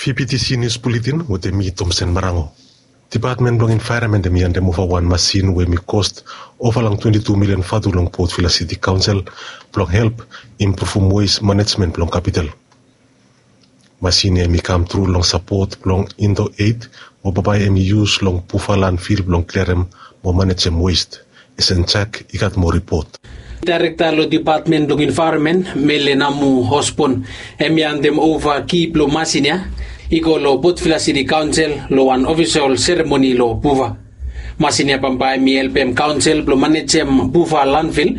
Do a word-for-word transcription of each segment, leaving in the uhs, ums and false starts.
Kipitisi nius buletin wetem mi, Tomsen Marango. Depatmen blong envaeronmen hem i handemova wan masin we hem i kost ova long twenti tu milian vatu long Port Vila Siti Kaonsel blong help impruvum wes manejmen blong kapital. Masin ya hem i kam tru long sapot blong Indo Aid, we bambae hem i yus long Buva landfil blong kliarem mo manejem wes. Esen Jack i gat moa ripot. Daerekta long Depatmen blong Envaeronmen, Mele Namu Osborn, hem i handemova ki blong masin ya i go long Port Vila Siti Kaonsel long wan ofisol seremoni long Buva. Masin ya bambae hem i helpem kaonsel blong manejem Buva landfil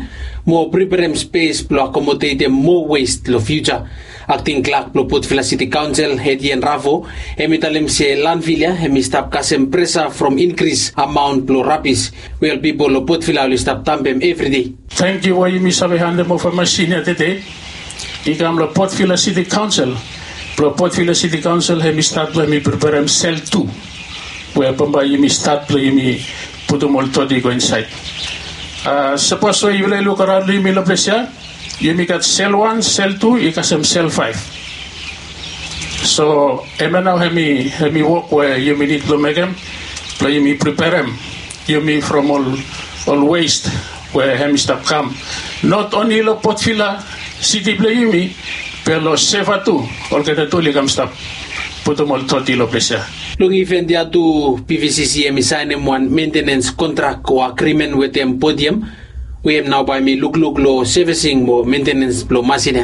mo preperem spes blong akomodetem moa wes long fiuja. Akting klak blong Port Vila Siti Kaonsel, Etienne Ravo, hem i talem se landfil ya hem i stap kasem presa from inkris amaon blong rabis we ol pipol long Port Vila oli stap dambem evri dei. Tangkiu we yumi save handemova masin ya tede i kam long Port Vila Siti Kaonsel. Blong Port Vila Siti Kaonsel hem i stat blong hem i preperem sel tu, we bambae yumi stat blong yumi putum ol doti i go insaed. Sapos we yufala i luk araon long yumi long ples ya, yumi gat sel wan, sel tu, i kasem sel faef. So hemia nao hem i wok we yumi nid blong mekem blong yumi preperem yumi from ol wes we hem i stap kam, not onli long Port Vila Siti blong yumi, be long Seva tu, olgeta tu oli kam stap putum ol doti long ples ya. Long iven ya tu, PVCC hem i saenem wan mentenens kontrak o agrimen wetem Podium, we hem nao bae hem i lukluk long sevesing mo mentenens blong masin ya.